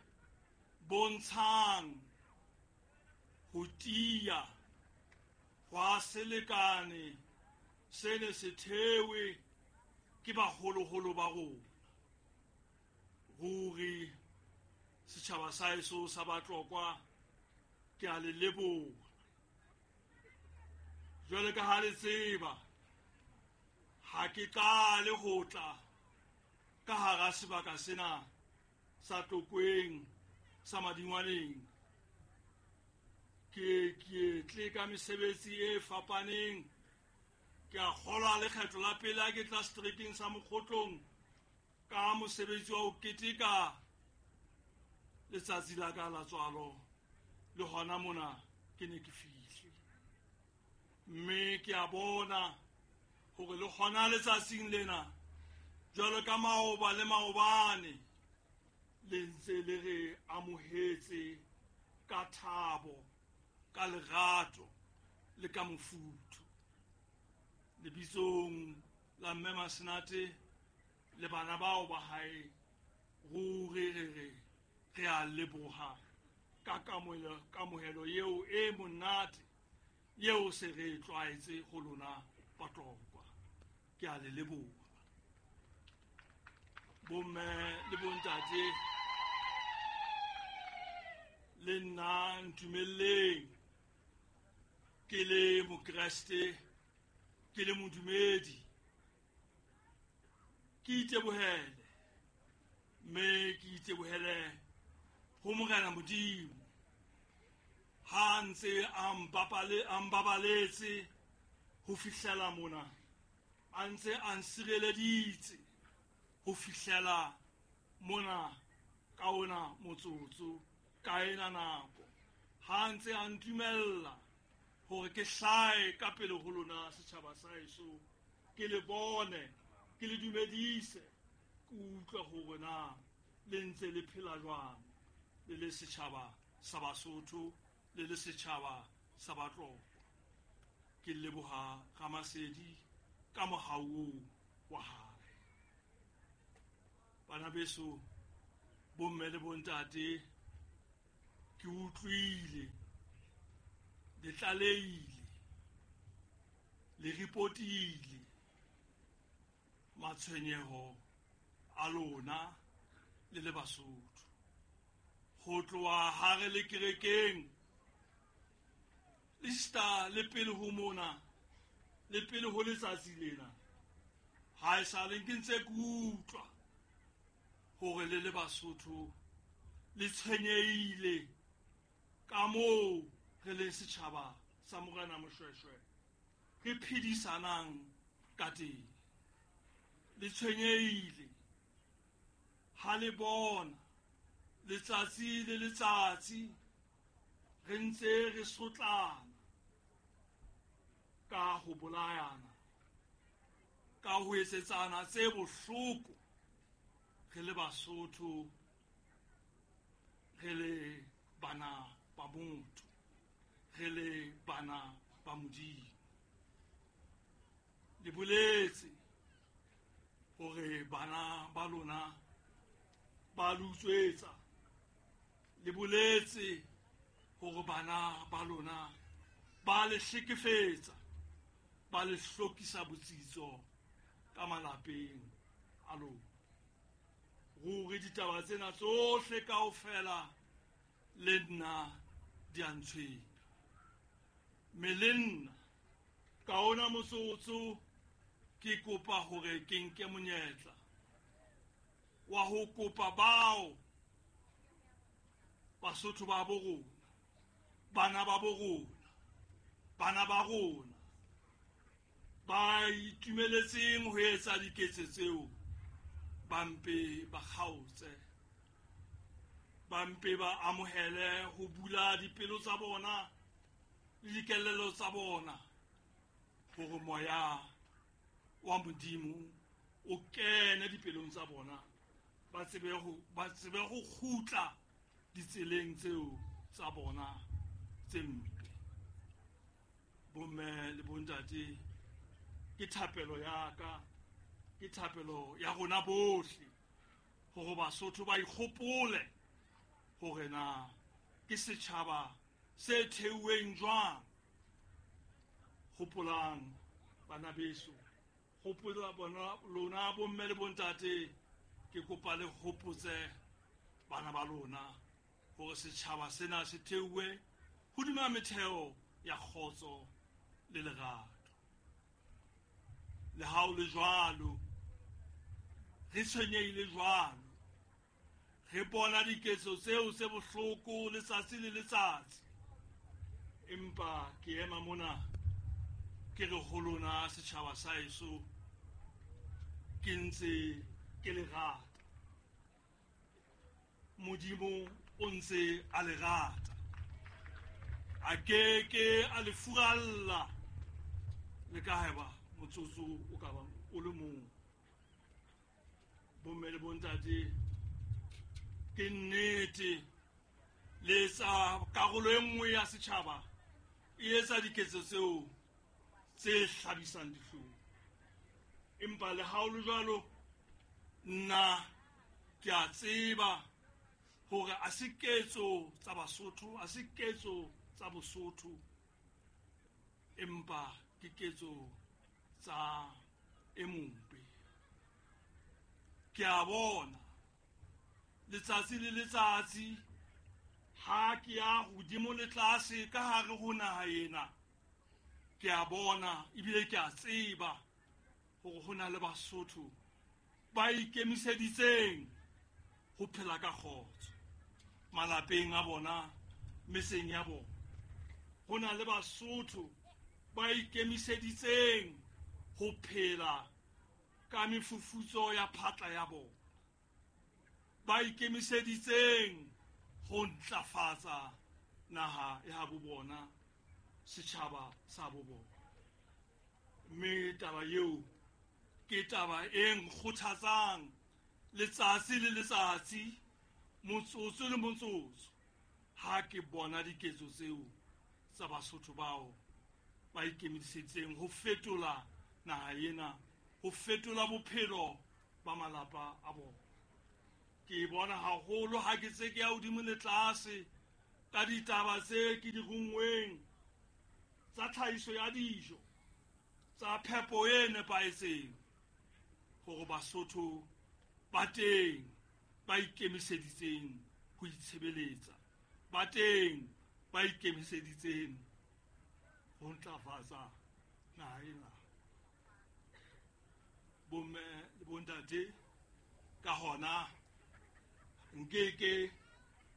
bontshang ho tiya hwa selekane se ne se thewe ke baholoholo ba rona. Ruri setjhaba sa heso sa Batlokwa, ke a le leboha. Jwale ka ha le tseba, ha ke qale ho tla ka hara sebaka sena sa Tlokweng sa Madingwaneng. Ke tle ka mesebetsi e fapaneng. Ke a kgolwa lekgetho la pele ha ke tla seterekeng sa Mokgotlong Ka mosebetsi wa ho keteka letsatsi la ka la tswalo le hona mona ke ne ke fihle. Mme ke a bona hore le hona letsatsing lena jwalo ka maoba le maobane le ntse le re amohetse ka thabo, ka lerato le ka mofuthu. Lebitsong la Mme Masenate le bana bao ba hae, ruri re re re a leboha ka kamohelo eo e monate eo se re tlwaetse ho lona Batlokwa. Ke a le leboha. Bomme le bontate, le nna ntumelleng ke le mokreste, ke le modumedi, ke itebohele, mme ke itebohele ho Morena Modimo ha ntse a mpabaletse ho fihlela mona, a ntse a nsireleditse ho fihlela mona ka ona motsotso, ka ena nako, ha ntse a ntumella hore ke hlae ka pele ho lona setjhaba sa heso, ke le bone, ke le dumedise, ke utlwe hore na le ntse le phela jwang le le setjhaba sa Basotho, le le setjhaba sa Batlokwa. Ke leboha Ramasedi ka mohau oo wa hae. Bana beso, bomme le bontate, ke utlwile le tlalehile, le ripotile matshwenyeho a lona le le Basotho. Ho tloha ha re le kerekeng, le sita le pele ho mona, le pele ho letsatsi lena, ha e sa le ke ntse ke utlwa hore le le Basotho le tshwenyehile ka moo re leng setjhaba sa Morena Moshoeshoe re phedisanang ka teng. Le tshwenyehile ha le bona letsatsi le letsatsi re ntse re sotlana ka ho bolayana, ka ho etsetsana tse bohloko re le Basotho, re le bana ba motho, re le bana ba Modimo. Le boletse hore bana ba lona ba le utswetsa, le boletse hore bana ba lona ba le hlekefetsa, ba le hlokisa botsitso ka malapeng a lona. Ruri ditaba tsena tsohle kaofela le nna di a ntshwenya. Mme le nna ka ona motsotso ke kopa hore ke nke monyetla wa ho kopa bao Basotho ba bo rona, bana ba bo rona, bana ba rona ba itumeletseng ho etsa diketso tseo, ba mpe ba kgaotse, ba mpe ba amohele ho bula dipelo tsa bona le dikelello tsa bona hore moya wa Modimo o kene dipelong tsa bona, ba tsebe ho kgutla ditseleng tseo tsa bona tse mpe. Bomme le bontate, ke thapelo ya ka, ke thapelo ya rona bohle hore Basotho ba ikgopole hore na ke setjhaba se theuweng jwang. Hopolang bana beso, hopola bona lona bomme le bontate, ke kopa le hopotse bana ba lona hore setjhaba sena se theuwe hodima metheo ya kgotso le lerato. Le ha o le jwalo, re tshwenyehile jwalo, re bona diketso tseo tse bohloko letsatsi le letsatsi, empa ke ema mona ke re ho lona setjhaba sa heso, ke ntse ke le rata. Modimo o ntse a le rata. A ke ke a le furalla le ka haeba motsotso o ka bang o le mong. Bomme le bontate, ke nnete le etsa karolo e nngwe ya setjhaba e etsa diketso tseo tse hlabisang dihlong. Empa le ha ho le jwalo, nna ke a tseba hore a se ketso tsa Basotho, a se ketso tsa Bosotho, empa ke ketso tsa e mobe. Ke a bona letsatsi le letsatsi ha ke ya hodimo le tlase ka hare ho naha ena, ke a bona ebile ke a tseba hore ho na le Basotho ba ikemiseditseng ho phela ka kgotso malapeng a bona, metseng ya bona. Ho na le Basotho ba ikemiseditseng ho phela ka mefufutso ya phatla ya bona, ba ikemiseditseng ho ntlafatsa naha ya habo bona, setjhaba sa bo bona. Mme taba eo ke taba e nkgothatsang letsatsi le letsatsi, motsotso le motsotso, ha ke bona diketso tseo tsa Basotho bao ba ikemiseditseng ho fetola naha ena, ho fetola bophelo ba malapa a bona. Ke bona haholo ha ke tse ke ya hodimo le tlase ka ditaba tse ke di rungweng tsa tlhahiso ya dijo, tsa phepo e nepahetseng, hore Basotho ba teng ba ikemiseditseng ho itshebeletsa, ba teng ba ikemiseditseng ho ntlafatsa naha ena. Bomme le bontate, ka hona nkeke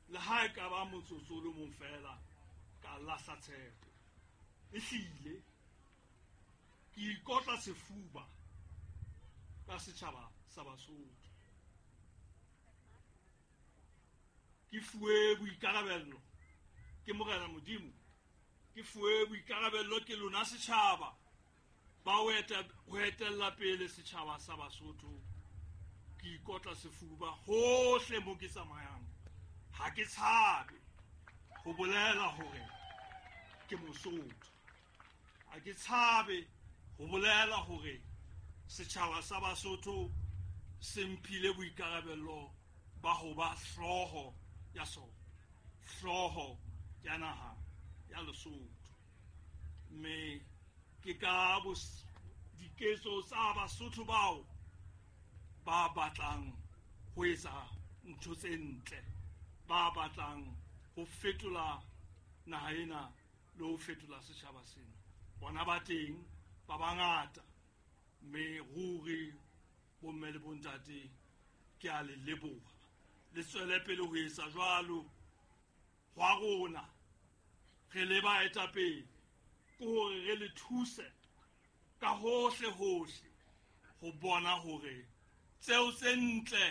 le ha e ka ba motsotso o le mong fela ka lahla tshepo. Ehlile ke ikotla sefuba ka setjhaba sa Basotho. Ke fuwe boikarabello ke Morena Modimo, ke fuwe boikarabello ke lona setjhaba ba ho etella pele setjhaba sa Basotho. Ke ikotla sefuba hohle mo ke tsamayang, ha ke tshabe ho bolela hore ke Mosotho, ha ke tshabe ho bolela hore setjhaba sa Basotho se mphile boikarabello ba ho ba hlooho ya sona, hlooho ya naha ya Lesotho. Mme ke ka diketso tsa Basotho bao ba batlang ho etsa ntho tse ntle, ba batlang ho fetola naha ena le ho fetola setjhaba sena. Bona ba teng ba bangata, mme ruri bomme le bontate ke a le leboha. Le tswele pele ho etsa jwalo. Hwa rona re le baetapele ke hore re le thuse ka hohle hohle ho bona hore tseo tse ntle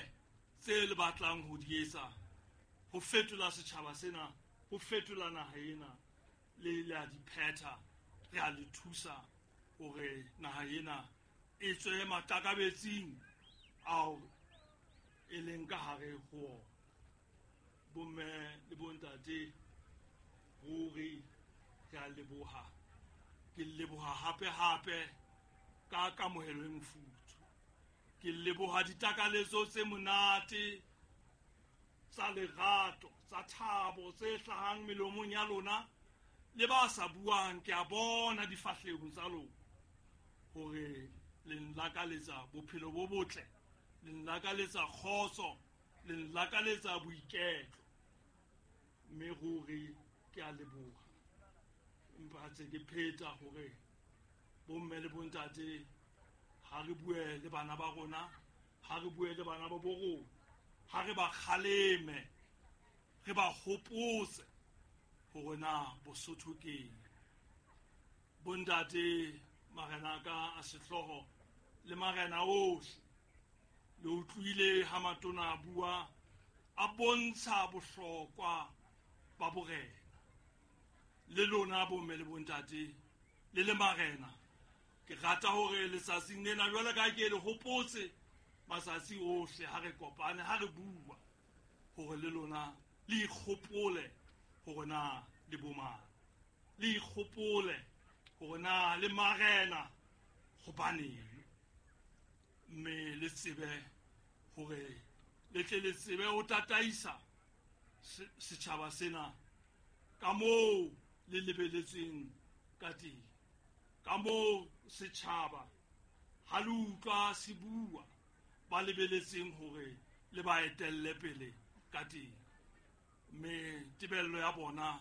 tse le batlang ho di etsa, ho fetola setjhaba sena, ho fetola naha ena, le la di phetha. Re a le thusa hore naha ena e tswe matakabetsing ao e leng ka hare ho ona. Bomme le bontate, ruri re a leboha. Ke leboha hape hape ka kamohelo e mofuthu. Ke leboha ditakaletso tse monate tsa lerato, tsa thabo tse hlahang melomong ya lona le ba sa buang. Ke a bona difahlehong tsa lona hore le nlakaletsa bophelo bo botle, le nlakaletsa kgotso, le nlakaletsa boiketlo. Mme ruri ke a leboha. Empa tse ke pheta hore bomme le bontate, ha re bue le bana ba rona, ha re bue le bana ba bo rona, ha re ba kgaleme, re ba hopotse hore na Bosotho keng. Bontate, marena ka a sehlooho le marena ohle, Le utlwile ha matona a bua a bontsha bohlokwa ba borena. Le lona bomme le bontate le le marena, ke rata hore letsatsing lena jwale ka ke le hopotse matsatsi ohle ha re kopane, ha re bua, hore le lona le ikgopole hore na le bomang, le ikgopole hore na le marena hobaneng, mme le tsebe hore le tle le tsebe ho tataisa setjhaba sena ka moo le lebeletsweng ka teng, ka moo setjhaba ha le utlwa se bua ba lebeletseng hore le ba etelle pele ka teng. Mme tebello ya bona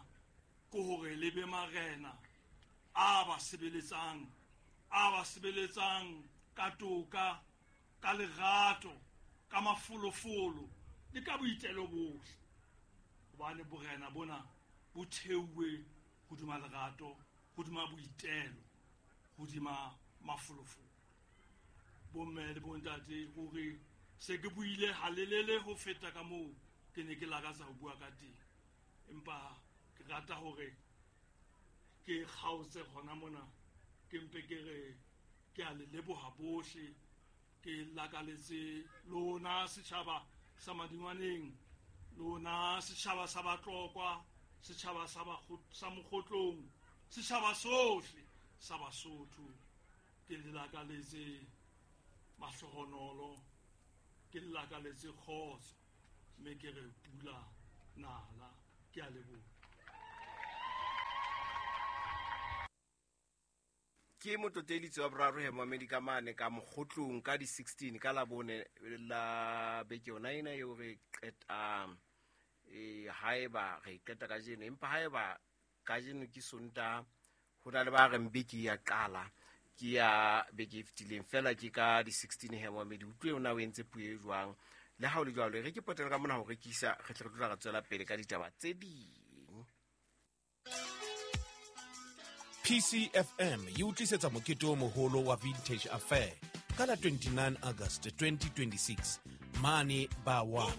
ke hore le be marena a ba sebeletsang, a ba sebeletsang ka toka, ka lerato, ka mafolofolo le ka boitelo bohle, hobane borena bona bo theuwe hodima lerato, hodima boitelo, hodima mafolofolo. Bomme le bontate, hore se ke buile halelele ho feta ka moo ke ne ke lakatsa ho bua ka teng, empa ke rata hore ke kgaotse hona mona, ke mpe ke re ke a le leboha bohle, ke lakaletse lona setjhaba sa Madingwaneng, lona setjhaba sa Batlokwa, setjhaba sa Mokgotlong, setjhaba sohle sa Basotho, ke le lakaletse mahlohonolo, ke le lakaletse kgotso, mme ke re pula nala. Ke a leboha. Ke motlotelitse wa boraro he momedi ka mane ka Mokgotlong ka di 16 ka labone la beke yona ena eo re qetang, haeba re qeta kajeno, empa haeba kajeno ke Sontaha, ho na le ba reng beke ya qala ke ya beke e fetileng fela, ke ka di 16 he momedi. Utlwe yona o entse puo e jwang. Le ha o le jwalo, re ke potela ka mona ho rekisa, re tle re tla re tswela pele ka ditaba tse ding. PCFM e utlisetsa mokete o moholo wa Vintage Affair ka la 29 August 2026 mane ba 1.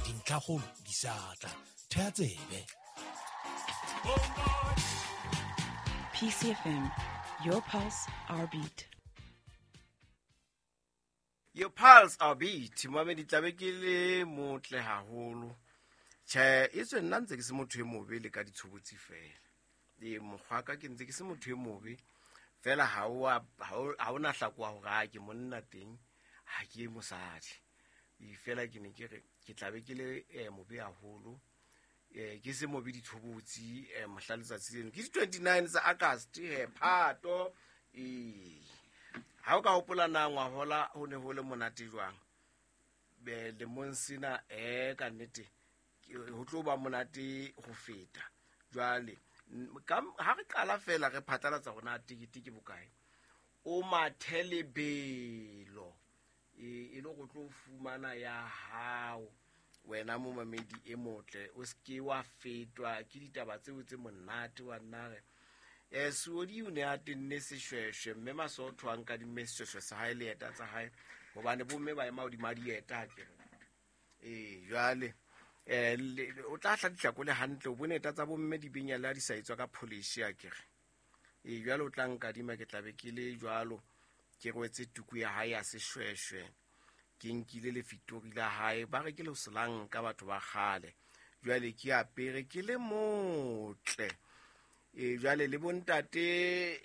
Dintlhakgolo di sa tla. Theha tsebe. PCFM, your pulse, our beat. Your pulse, our beat. Mohamedi tlabe ke le motle haholo. Tjhe, e tswe nna ntse ke se motho e mobe le ka ditshobotsi fela. E mokgwa ka ke ntse ke se motho e mobe fela, ha o na hlakoha hore ha ke monna teng, ha ke mosadi. E fela ke ne ke re ke tlabe ke le mobe haholo, ke se mobe ditshobotsi mohla letsatsi leno. Ke di 29 tsa August he Phato. Ha o ka hopola na ngwahola ho ne ho le monate jwang? Be lemong sena ka nnete ho tlo ba monate ho feta. Jwale ha re qala fela re phatlalatsa hore na tekete ke bokae, o mathe lebelo e le go tlo fumana ya hao wena momamedi e motle, o seke wa fetwa ke ditaba tseo tse monate wa nna re. Suodi o ne a tenne seshweshwe, mme Masotho a nkadimme seshweshwe sa hae le eta tsa hae, hobane bomme ba ema hodima dieta ha ke re. Jwale o tla hla ditlhako le hantle, o bone eta tsa bomme di benya le ha di sa etswa ka polish ha ke re. Jwale o tla nkadima, ke tla be ke le jwalo, ke rwetse tuku ya hae ya seshweshwe, ke nkile lefitori la hae, ba re ke le selanka batho ba kgale. Jwale ke apere ke le motle. Jwale le bontate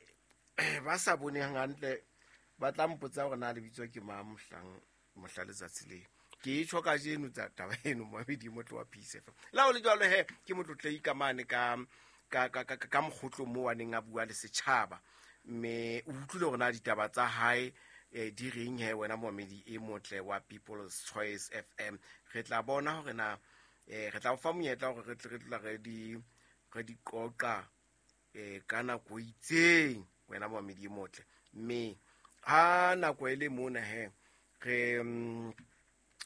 ba sa boneng hantle ba tla mpotsa hore na lebitso ke mang mohlang mohla letsatsi le. Ke e tjho kajeno tsa taba eno momedi motle wa Peace FM. Le ha ho le jwalo he, ke motlotlei ka mane ka Mokgotlong moo a neng a bua le setjhaba, mme o utlwile hore na ditaba tsa hae di reng he wena momedi e motle wa People's Choice FM. Re tla bona hore na re tla o fa monyetla hore re tle re tla re di qoqa ka nako e itseng wena momedi e motle. Mme ha nako e le mona he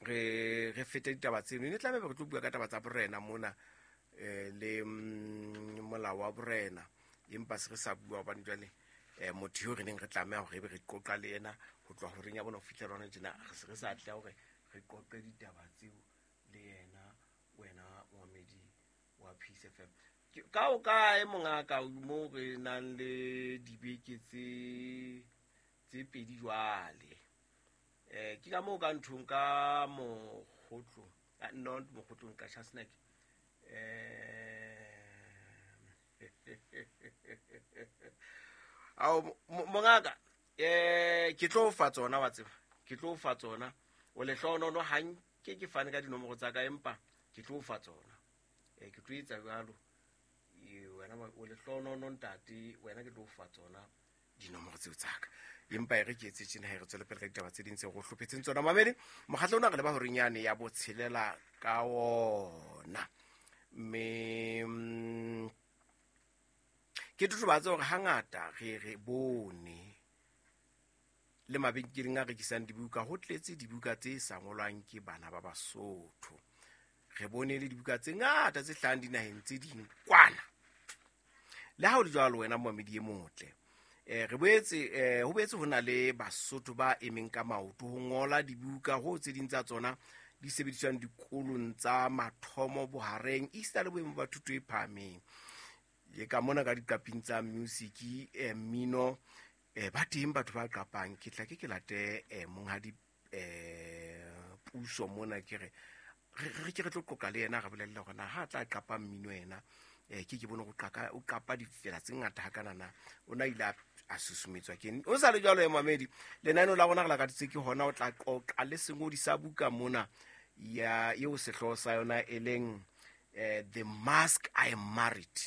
re fete ditaba tseno, ne tlabe re tlo bua ka taba tsa borena mona le molao wa borena, empa se re sa bua hobane jwale Motho eo re neng re tlameha hore ebe re qoqa le yena ho tloha horeng ya bona ho fihlela hona tjena, re se re sa atleha hore re qoqe ditaba tseo le yena. Wena momamedi wa Peace FM, ka o kae mongaka mo re nang le dibeke tse pedi jwale? Ke ka moo ka nthong ka mokgotlong, not mokgotlong, ka Chasnack. Ao mongaka, ke tlo fa tsona, wa tseba, ke tlo fa tsona. O lehlohonono ha nke ke fane ka dinomoro tsa ka, empa ke tlo fa tsona. Ke tlo etsa jwalo. Wena o lehlohonono ntate, wena ke tlo fa tsona dinomoro tseo tsa ka. Empa e re ke etse tjena, re tswele pele ka ditaba tse ding tse re hlophetseng tsona. Mamedi, mokgatlo ona re leba horeng yane ya botshelela ka ona. Mme ke totobatse hore hangata re bone le mabenkeleng a rekisang dibuka ho tletse dibuka tse sa ngolwang ke bana ba Basotho. Re bone le dibuka tse ngata tse hlahang dinaheng tse ding kwana. Le ha ho le jwalo, wena momamedi e motle, re boetse ho boetse ho na le Basotho ba emeng ka maoto ho ngola dibuka, ho tse ding tsa tsona di sebediswang dikolong tsa mathomo, bohareng, esita le boemo ba thuto e phahameng. Le ka mona ka diqaping tsa music, mmino, ba teng batho ba qapang. Ke tla ke late monghadi Puso mona, ke re re ke re tlo qoqa le yena, re bolelle hore na ha tla qapa mmino yena, ke bone go qaka o qapa difela tse ngata hakanana, o na ile a susumetswa ke eng. O sa le jwalo, mamedi, lenaneo la rona re lakaditse ke hona o tla qoqa le sengodi sa buka mona ya eo sehlooho sa yona e leng The Mask I Married.